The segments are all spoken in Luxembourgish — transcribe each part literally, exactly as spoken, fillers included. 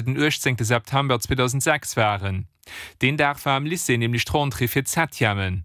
den uechtzéngte September zweedausendsechs waren. Deen Dag war am Lycée nämlech d'Rentrée fir d'Septièmen.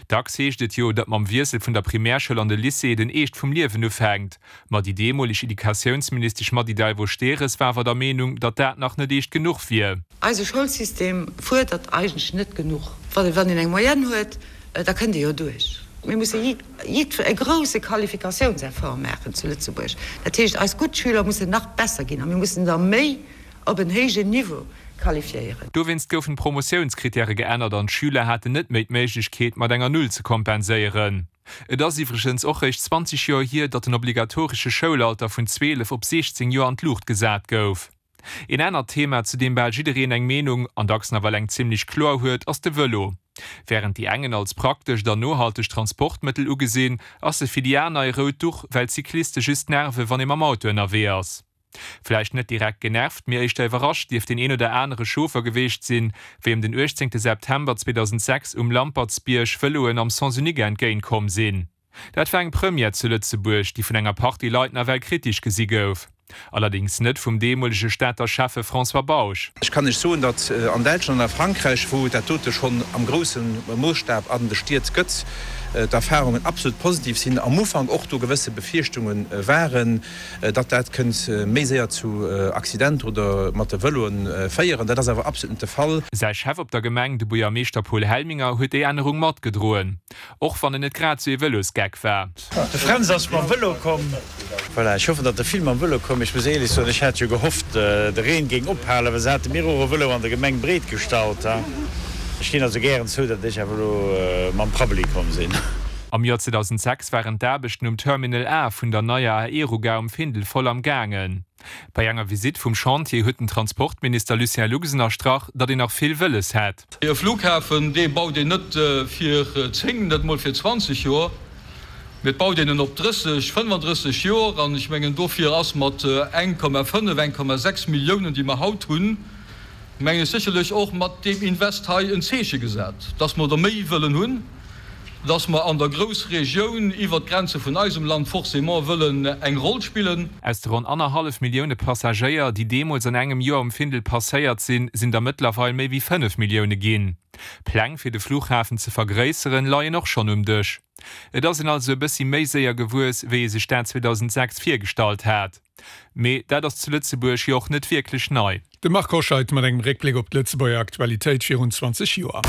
Dacks heescht et jo, datt mam Wiessel vun der Primärschoul an de Lycée den Eescht vum Liewen ufänkt. Ma déi deemoleg Educatiounsministesch Mady Delvaux-Stehres war awer der Meenung, datt dat nach net eescht genuch wier. Eise Schoulsystem fuerdert eigentlech net genuch. Wann een eng Moyenne huet, da kënnt ee jo duerch. Mir musse jiddwer e grousse Qualifikatiounseffort maachen zu Lëtzebuerg. Dat heescht, eis gutt Schüler mussen nach besser ginn a mir mussen der méi op en héijen Niveau qualifiéieren. Dowéinst goufen d'Promotiounskrittäre geännert an d'Schüler haten net méi d'Méiglechkeet, mat enger Null ze kompenséieren. Et ass iwwregens och réischt zwanzeg Joer hier, datt den obligatoresche Schoulalter vun zweelef op siechzéng Joer an d'Luucht gesat gouf. Een anert Thema, zu deem bal jiddereen eng Meenung, an dacks nawell eng zimmlech kloer huet, ass de Vëlo. Wärend déi eng en als praktescht an nohaltegt Transportmëttel ugesinn, ass e fir déi aner e rout Duch, well d'Cycliste just nerve wann ee mam Auto ënnerwee ass. Vläicht net direkt genervt, mee éischter iwwerrascht dierft deen een oder anere Chauffer geweecht sinn, wéi em den uechtzéngte September zweedausendsechs um Lampertsbierg Vëloen am Sens unique entgéint komm sinn. Dat war eng Première zu Lëtzebuerg, déi vun enger Partie Leit nawell kritesch gesi gouf. Allerdéngs net vum deemolege Stater Schäffe François Bausch. Ech kann lech soen, datt an Däitschland an a Frankräich, wou et dat dote schonn am grousse Moossstab an de Stied gëtt, d'Erfahrungen absolut positiv sinn. Am Ufank och do gewësse Befierchtunge waren, datt dat kënnt méi séier zu Accidenter oder mat de Vëloe féieren. Dat ass awer absolut net de Fall. Säi Chef op der Gemeng, de Buergermeeschter Paul Helminger, huet déi Ännerung matgedroen. Och wann en net grad sou ee Vëlosgeck war. De Fränz ass mam Vëlo komm. Voilà, ech hoffen, datt der vill mam Vëlo kommen. Ech muss éierlech soen, ech hat jo gehofft, de Reen géing ophalen, well se hate mir och e Vëlo an der Gemeng breet gestallt. Ech ginn also gären zou, datt ech awer elo mam Prabbeli komm sinn. Am Joer zweedausendsechs waren d'Aarbechten um Terminal A vun der neier Aerogare um Findel voll am gaangen. Bei enger Visitt vum Chantier huet den Transportminister Lucien Lux ënnerstrach, datt een nach vill wëlles hätt. E Flughafen, dee baut een net fir zéng, net emol fir zwanzeg Joer, mee et baut een en op drësseg, fënnefandrësseg Joer. An ech mengen, dofir ass mat eng Komma fënnef, eng Komma sechs Milliounen, déi mer haut hunn, mengen ech, sécherlech och mat deem Invest hei en Zeeche gesat, dass mer der méi wëllen hunn, dass mer an der Groussregioun iwwert d'Grenze vun eisem Land forcément wëllen eng Roll spillen. Aus de ronn annerhallef Millioune Passagéier, déi deemools an engem Joer um Findel passéiert sinn, sinn der mëttlerweil méi wéi fënnef Millioune ginn. Pläng fir de Flughafen ze vergréisseren, leien och schonn um Dësch. Et ass een also e bëssi méi séier gewuess, wéi ee sech dat zweedausendsechs virgestallt hat. Mee dat ass zu Lëtzebuerg jo och net wierklech nei. De Marc Hoscheid mat engem Réckbléck op d'Lëtzebuerger Aktualitéit virun zwanzeg Joer.